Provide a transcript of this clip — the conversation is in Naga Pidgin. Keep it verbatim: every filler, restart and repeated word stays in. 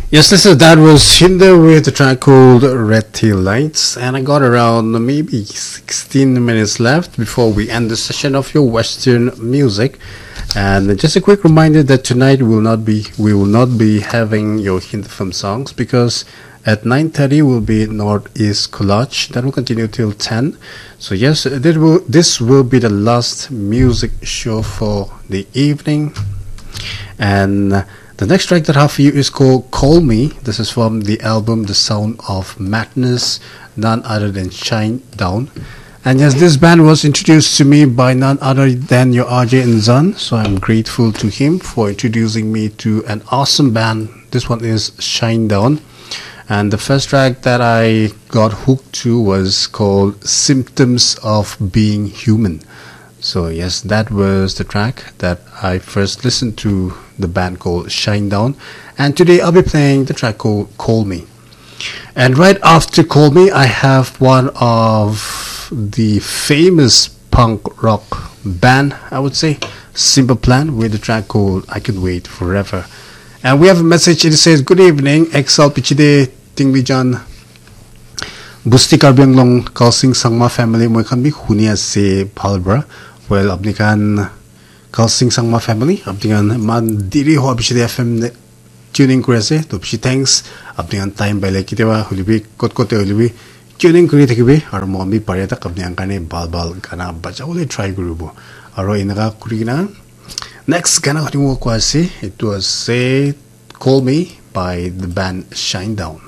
Yes, listen, that was Hinder with the track called Red Tail Lights, and I got around maybe sixteen minutes left before we end the session of your Western music. And just a quick reminder that tonight will not be we will not be having your Hindi film songs because at nine thirty will be Northeast Collage. That will continue till ten. So yes, this will this will be the last music show for the evening, and the next track that I have for you is called Call Me. This is from the album The Sound of Madness, none other than Shine Down. And yes, this band was introduced to me by none other than your R J Inzan. So I'm grateful to him for introducing me to an awesome band. This one is Shine Down. And the first track that I got hooked to was called Symptoms of Being Human. So yes, that was the track that I first listened to the band called Shine Down. And today I'll be playing the track called Call Me. And right after Call Me, I have one of the famous punk rock band, I would say, Simple Plan, with the track called I Can Wait Forever. And we have a message. It says, "Good evening, X L Pichide Tingbijan, Busti Karbi Anglong, Kalsing Sangma family, moi khan bi huni ase bhal pra." Well, apni khan Kalsing Sangma family, apni khan iman diri hoa pichete F M de tuning kuri ase, to bishi thanks. Apni khan time paile kitiaba hoile bi, kot kot te hoile bi tuning kuri thakibi, aru moi bi pare tak apni khan karne bhal bhal gana bajabole try kuribo. Aru enaka kuri kena next gana khutibo koi ase, etu ase Call Me by the band Shine Down.